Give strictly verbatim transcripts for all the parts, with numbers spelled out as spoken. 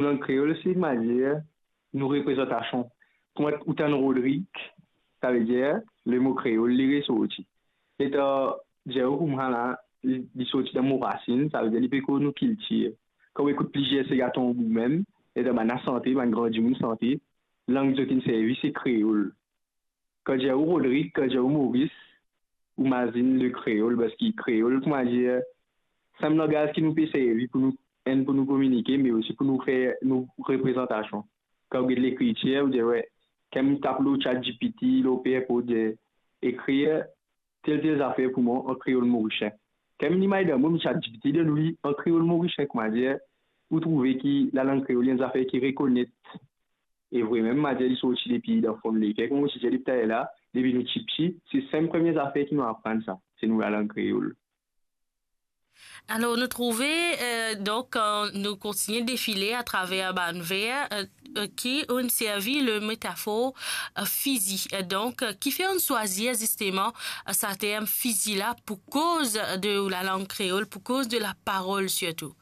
Lang kreol, se, kouma dir, nou reprezantasion. Kouma ou tann Rodrig, savedir lemo kreol, li resorti. Letan Diego koumsa la, li, li sorti dan mo rasinn, savedir li pe konn nou kiltir. Kan ou ekout plizier sega tonbo mem, letan bann la sante, bann gran dimoun sante, lang zot inn servi, se kreol. Kan dir ou Rodrig, kan dir ou Moris, ou mazinn le kreol, parski kreol, kouma dir, se enn langaz ki nou pe servi pou nou, enn, pou nou kominike, me osi pou nou fer nou reprezantasion. Kan ou get lekritir, ou dir, we, kan mo tap lor ChatGPT, lor Perpod, dir, ekrir tel, tel zafer pou mwa an kreol morisien. Kan mo limay dan mo, mo ChatGPT donn ou li an kreol morisien, kouma dir, ou trouve ki lalang kreol, li enn zafer ki rekonet. E vremem, ma dir, li sorti depi dan fon leker, kouma mo ti dir depi taler la, depi nou tipti, se sa premie zafer ki nou aprann sa, se nou lalang kreol. Alor, nou trouve, eh, donk, eh, nou kontigne defile atraver bann ver, eh, eh, ki inn servi le metafor, eh, fizi. Eh, donk, eh, kifer inn swazir zisteman, eh, sa term fizi la pou koz de lalang kreol, pou koz de laparol sirtou?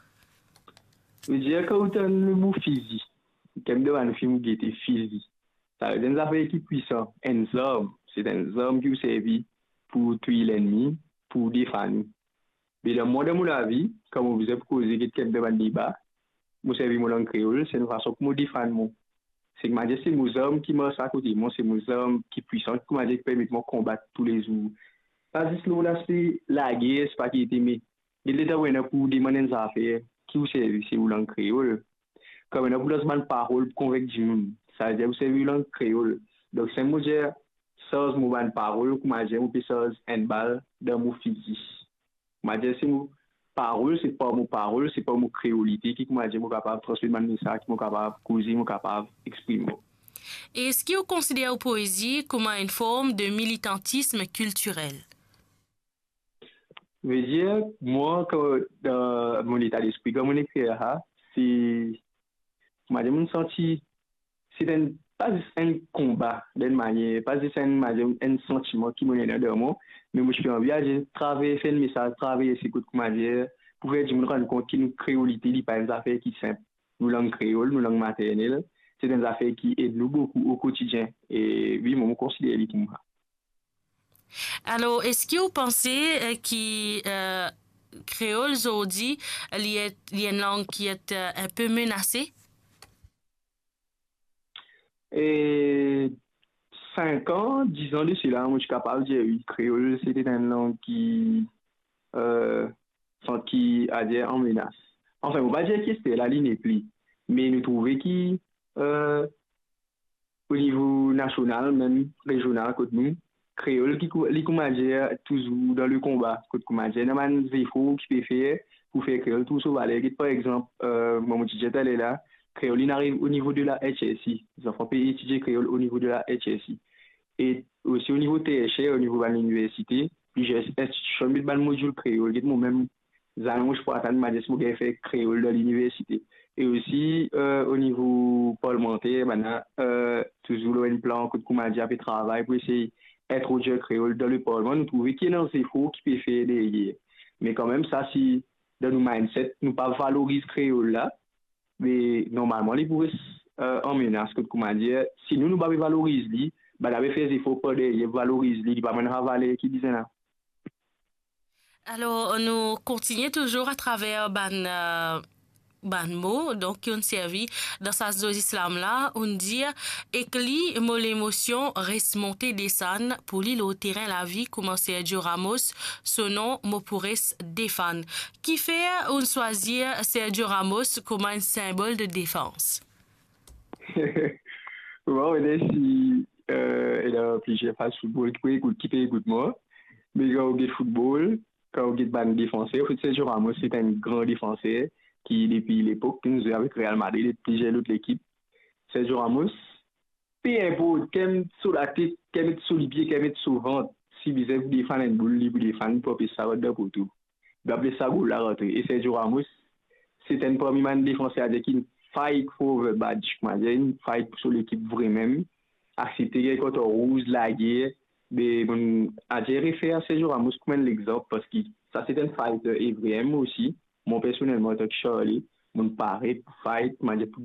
Vedir, kan ou tann lemo fizi, kan dan bann fim ou gete fizi, savedir enn zafer ki pwisan, enn zarm, se enn zarm ki ou servi pou touy lennmi, pou defann ou. Me dan mwa, dan mo lavi, kan mo bizin pou koze, get kek bann deba, mo servi mo lang kreol, se enn fason pou mo defann mwa. Se kouma dir, se mo zarm ki mars akote mwa, se mo zarm ki pwisan, kouma dir, ki permet mwa konbat toulezour. Pa zis lor laspe lager, se pa ki ete, me get letan ou ena pou demann enn zafer, ki ou servi, se ou lang kreol. Kan ou ena pou lans bann parol pou konvink dimoun, savedir ou servi ou lang kreol. Donk, si mo dir, sarz mo bann parol, kouma dir, mo pe sarz enn bal dan mo fizi. Kouma dir, se mo parol, se par mo parol, se par mo kreolite ki, kouma dir, mo kapav transmet bann mesaz, ki mo kapav koze, mo kapav exprime mwa. Eski ou konsider ou poezi kouma enn form de militantism kiltirel? Vedir, mwa, kan, dan mo leta lespri, kan mo ekrir sa, se, kouma dir, mo santi, se enn, pa zis enn konba, dan enn manier, pa zis enn, kouma dir, enn santiman ki mo ena dan mwa, me mo ti pe anvi al traverse enn mesaz, traverse kot, kouma dir, pou fer dimoun rann kont ki nou kreolite, li pa enn zafer ki sinp. Nou lang kreol, nou lang maternel, se enn zafer ki ed nou boukou o kotidien. E wi, mwa, mo konsider li koumsa. Alor, eski ou panse, eh, ki, eh, kreol zordi, li et, li enn lang ki et, eh, inpe menase? E sink an, diz an de sela, mo ti kapav dir wi, kreol, se te enn lang ki, eh, santi, adir, an menas. Anfin, mo pa dir ki ester la, li nepli. Me nou trouve ki, eh, o nivo nasional, mem rezional, kot nou, kreol, ki kou-, li, kouma dir, touzour dan le konba, kot, kouma dir, ena bann zefor ki pe fer pou fer kreol trouv so valer. Get, par exanp, eh, mwa, mo ti dir taler la, kreol, li ariv o nivo de la H S C. Zanfan pe etidie kreol o nivo de la H S C. E osi o nivo tersier, o nivo bann liniversite, plizier institision met bann modil kreol. Get, mwa mem, zame mo ti pou atann, kouma dir, si mo gagn fer kreol dan liniversite. E osi, eh, o nivo parlmanter, bann la, eh, touzour lor enn plan kot, kouma dir, pe travay pou esey introdwir kreol dan le parlman. Nou trouve ki ena zefor ki pe fer deryer. Me kanmem, sa, si dan nou mindset, nou pa valoriz kreol la, me normalman, li pou res, eh, an menas, kot, kouma dir, si nou, nou pa pe valoriz li, bann la pe fer zefor par deryer, valoriz li, li pa bann sa valer ki bizin la. Alor, nou kontigne touzour atraver bann, eh, bann mo, donk, ki inn servi dan sa zozislam la, inn dir, ek li, mo lemosion res monte desann, pou li lor terin lavi, kouma Sergio Ramos, so nom mo pou res defann. Kifer inn swazir Sergio Ramos kouma enn sinbol de defans? Bon, ena si, eh, ena plizier fan football ki pe ekout, ki pe ekout mwa. Me kan ou get football, kan ou get bann defanser, anfet, Sergio Ramos, se enn gran defanser ki, depi lepok ki nou zwe avek Real Madrid e plizier lot lekip. Sergio Ramos, pe inport, kan met so latet, kan met so lipie, kan met so vant, si bizin pou defann enn boul, li pou defann, pou anpes sa rant dan poto. Li pa pou les sa boul la rantre. E Sergio Ramos, se enn parmi bann defanser, adir ki inn fight for the badge, kouma dir, inn fight pou so lekip vremem, aksepte gagn karton rouz, lager, be, mo, adir, refer a Sergio Ramos kouma enn lexanp, parski sa se enn fighter e vremem osi, mwa personelman, antan ki Charlie, mo pare pou fight, kouma dir, pou